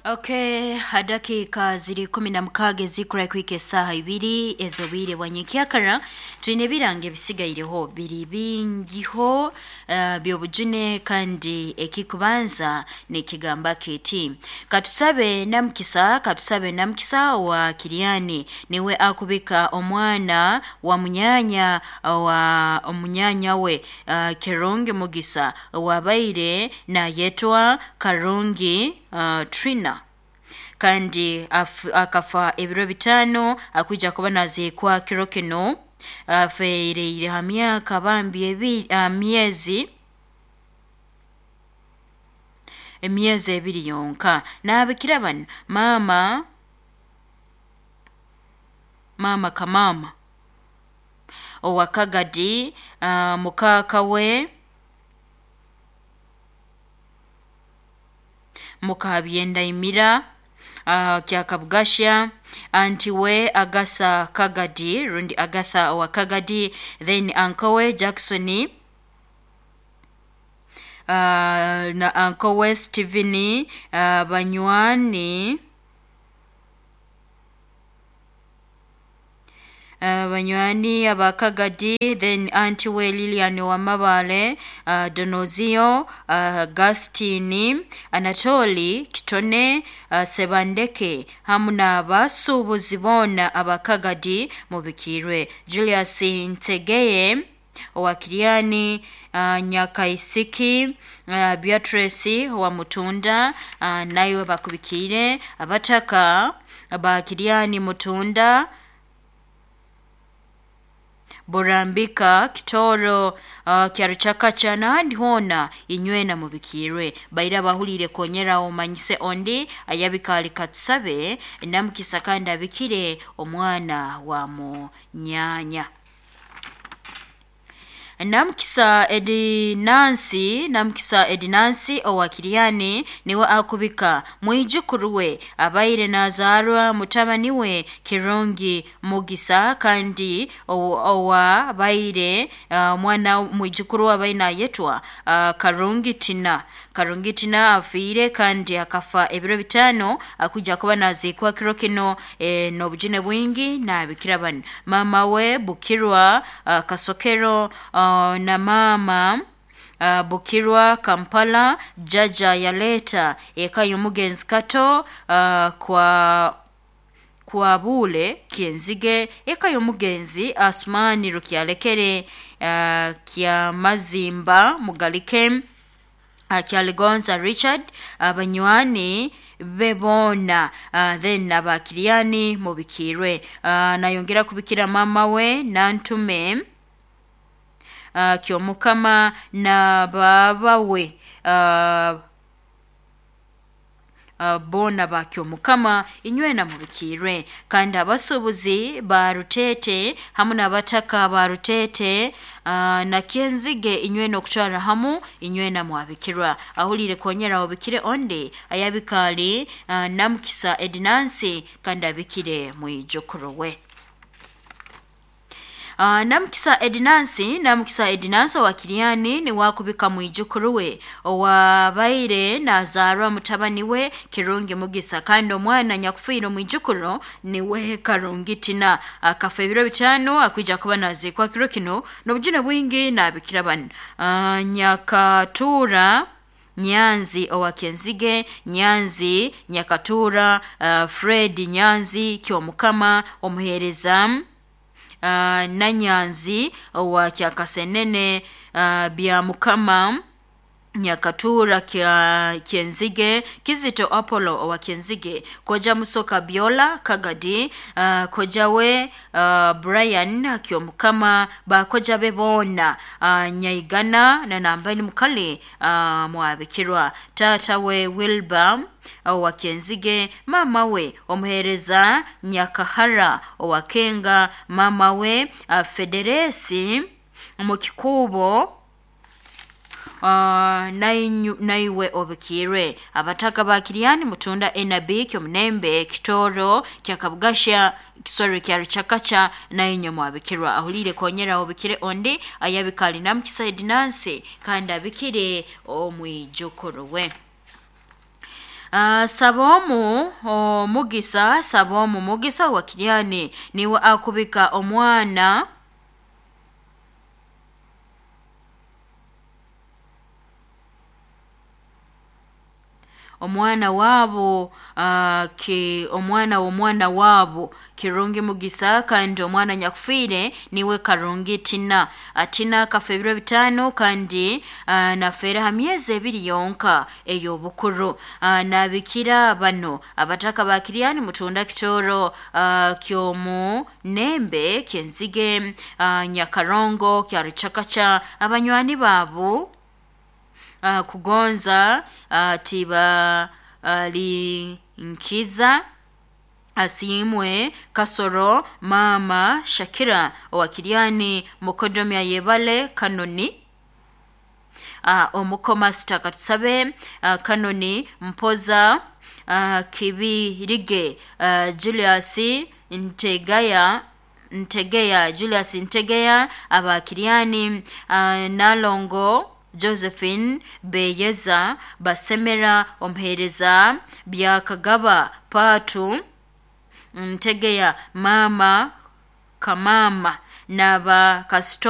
Okay, dakika ziri 16 ezikura kwika esaaha 2 ez'obwire bwa nyenkyakara. Twine ebirango ebisigaireho biri bingiho by'obujune, kandi ekikubanza nikigamba kiti: Katusabe Namukisa, Katusabe Namukisa wa Kiriani niwe akubika omwana wa munyanya wa omunyanya we Kirungi Mugisa owabaire nayetwa Karungi Trina, kandi akafa ebiro 5, akwija kuba naziikwa kiro kino. Afeereire ha myaka bambi myezi emyezi 2 yonka. Naabikira banu: mama mama kamama owa Kagadi, mukaaka we Mukabyendaimira Kyakabugasha, anti we Agasa Kagadi rundi Agatha owa Kagadi, then uncle we Jackson, na uncle we Stephen, banywani aba Kagadi, then anti we Lilian Wamabale, Donozio, Gastini, Anatoli Kitone, Sebandeke hamu n'abasuubuzi boona aba Kagadi mubikirwe. Julius Ntegeye owa Kiriani, Nyakaisiki, Beatrice wa Mutunda, naiwe bakubikiire. Abataka ba Kiriani, Mutunda, Burambika, Kitoro, Kyaruchakacha n'ahandi hoona, inywena mubikirwe. Baira abahuriire konyera omanyise ondi ayabikaali Katusabe Namukisa kandi abikire omwana wa munyanya. Namukisa Edinansi, Namukisa Edinansi owa Kiriani niwe akubika mwijukuru we abaire nazaarwa mutabani we Kirungi Mugisa, kandi owabaire omwana mwijukuru we abaire nayetwa Karungi Tina. Karungi Tina afiire kandi akafa ebiro 5, akuja kuba naziikwa kiro kino n'obujune bwingi. Naabikira banu: mama we Bukirwa Kasokero, na mama Bukirwa Kampala, jaja yaleta eka y'omugenzi Kato kwa Bule Kyenzige, eka y'omugenzi Asumani Rukyalekere, Kyamazimba Mugalike, Kyaligonza Richard, abanywani be boona, then abakiriani mubikirwe. Nayongera kubikira mama we Nantume Kyomukama na baba we, boona ba Kyomukama, inywena mubikirwe. Kandi abasuubuzi ba Rutete hamu n'abataka ba Rutete na Kyenzige, inywena okutwara hamu inywena mwabikirwa. Ahulire konyera obikire onde ayabikaali Namukisa Edinansi kandi abikire mwijukuru we. Namukisa Edinansi, Namukisa Edinansi owa Kiriani niwakubika mwijukuru we owabaire nazaarwa mutabani we Kirungi Mugisa, kandi omwana nyakufiire omwijukuru niwe Karungi Tina, akafa ebiro 5, akwija kuba naziikwa kiro kino n'obujune bwingi. Naabikira banu: Nyakatura Nyanzi owa Kenzige, Nyanzi Nyakatura, Fred Nyanzi Kyomukama omuheereza, Nanyanzi owa Kyakasenene, Byamukama Nyakatura Kyenzige, Kizito Apollo owa Kyenzige, Koja Musoka Biola Kagadi, koja we Brian Kyomukama, bakoja be boona, Nyaigana na nambani mukali mwabikirwa. Tata we Wilbur owa Kyenzige, mama we omuheereza Nyakahara owa Kenga, mama we Federesi mukikuubo, naiwe obikirwe. Abataka ba Kiriani, Mutunda, Enabi Kyomunembe, Kitoro Kyakabugasha, Kisoro kya Ruchakacha, nainywe mwabikirwa. Ahulire konyera obikire ondi ayabikali Namukisa Edinansi kandi abikire omwijukuru we. Sabomu omugisa, Sabomu Mugisa wa Kiryani niwe akubika omwana omwana waabo omwana w'omwana waabo Kirungi Mugisa, kandi omwana nyakufiire niwe Karungi Tina. Tina akafa ebiro 5 kandi nafeera ha myezi 2 yonka ey'obukuru. Nabikira bano abataka ba Kiryani, Mutunda, Kitoro, Kyomu Nembe, Kyenzige, Nyakarongo, Kyaruchakacha, abanywani baabo Kugonza, Tibalinkiza, Asiimwe Kasoro, Mama Shakira owa Kiryani, Mukodomya Yebale Kanoni, Omukomasita Katusabe, Kanoni Mpoza, Kibirige, Julius Ntegaya, Ntegeya, Julius Ntegeya aba Kiryani, Nalongo Josephine Beyeza, Basemera omuheereza Byakagaba Paatu Ntegeya, Mama Kamama n'aba kasitoma.